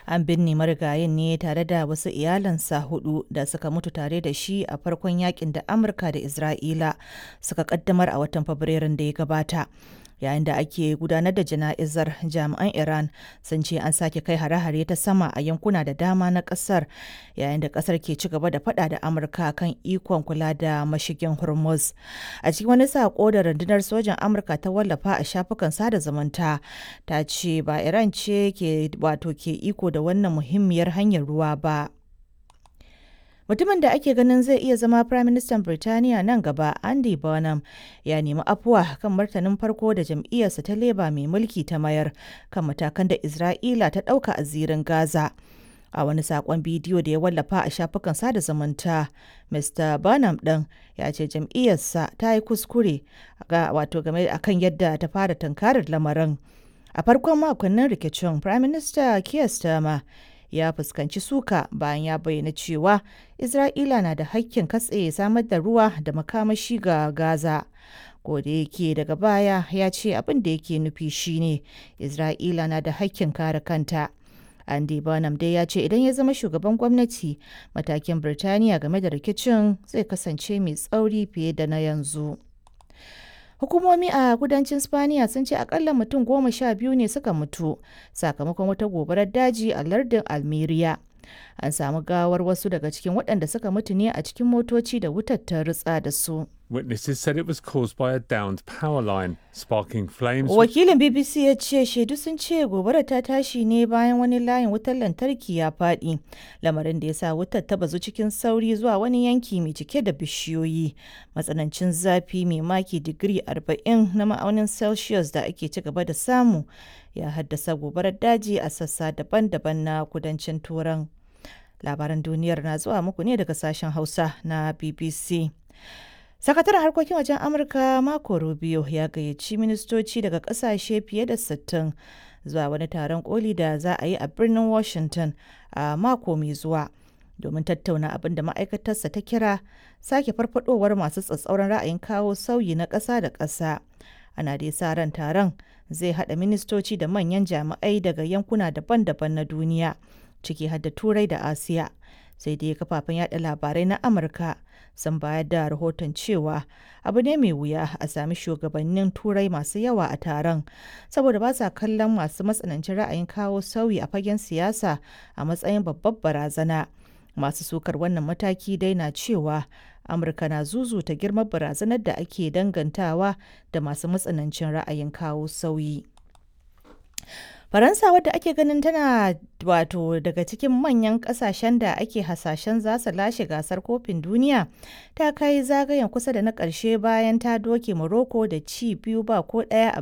An binne marigayin ne tare da wasu iyalansa hudu da suka mutu tare da shi a farkon yakin da Amurka da Isra'ila suka kaddamar a watan Fabrairun da ya gabata. Yayin da ake gudanar da jana'izar, jami'an Iran sun ce an sake kai hare-hare ta sama a yankuna da dama na kasar, yayin da kasar ke ci gaba da fada da Amurka kan ikon kula da mashigin Hormuz. A cikin wani sako da rundunar sojan Amurka ta wallafa a shafukan sada zumunta, ta ce ba Iran ce ke wato ke iko da wannan muhimmiyar hanyar ruwa ba. Mutumin da ake ganin zai iya zama Firaministan Birtaniya nan gaba, Andy Burnham, ya nemi afuwa kan martanin farko da jam'iyyarsa ta Labour mai mulki ta mayar kan matakan da Isra'ila ta ɗauka a zirin Gaza. A wani saƙon bidiyo da ya wallafa a shafukan sada zumunta, Mr. Burnham ɗin ya ce jam'iyyarsa ta yi kuskure wato game akan yadda ta fara tunkarar lamarin. A farkon makonnin rikicin, Firaminista Keir Starmer ya fuskanci suka bayan ya bayyana cewa Isra'ila na da hakkin katse samar da ruwa da makamashi ga Gaza. Ko da yake daga baya ya ce abin da yake nufi shine Isra'ila na da hakkin kare kanta. Andy Burnham dai ya ce idan ya zama shugaban gwamnati, matakin Birtaniya game da rikicin zai kasance mai tsauri fiye da na yanzu. Hukumomi a kudancin Spaniya sun ce akalla mutum 12 ne suka mutu sakamakon wata gobarar daji a lardin Almeria. An samu gawar wasu daga cikin waɗanda suka mutu ne a cikin motoci da wutar ta rutsa da su. Witnesses said it was caused by a downed power line, sparking flames. Wakilin BBC ya ce shaidu sun ce gobarar ta tashi ne bayan wani layin wutar lantarki ya faɗi, lamarin da ya sa wutar ta bazu cikin sauri zuwa wani yanki mai cike da bishiyoyi. Matsanancin zafi mai maki digiri 40 na ma'aunin Celsius da ake ci gaba da samu ya haddasa gobarar daji a sassa daban-daban na kudancin Turan. Labaran duniyar na zuwa muku ne daga sashen Hausa na BBC. Sakataren harkokin wajen Amurka Marco Rubio ya gayyaci ministoci daga kasashe fiye da 60 zuwa wani taron koli da za a yi a birnin Washington a mako mai zuwa domin tattauna abin da ma'aikatarsa ta kira sake farfadowar masu tsatsauran ra'ayin kawo sauyi na ƙasa da ƙasa. Ana dai sa ran taron zai haɗa ministoci da manyan jami'ai daga yankuna daban-daban na duniya, ciki har da Turai da Asiya. Sai dai kafafen yada labarai na Amurka sun bayar da rahoton cewa abu ne mai wuya a sami shugabannin Turai masu yawa a taron, saboda ba sa kallon masu matsanancin ra'ayin kawo sauyi a fagen siyasa a matsayin babbar barazana. Masu sukar wannan mataki dai na cewa Amurka na zuzuta girman barazanar da ake dangantawa da masu matsanancin ra'ayin kawo sauyi. Faransa, wadda ake ganin tana wato daga cikin manyan kasashen da ake hasashen za su lashe gasar kofin duniya, ta kai zagayen kusa da na ƙarshe bayan ta doke Morocco da ci 2 ba ko 1 a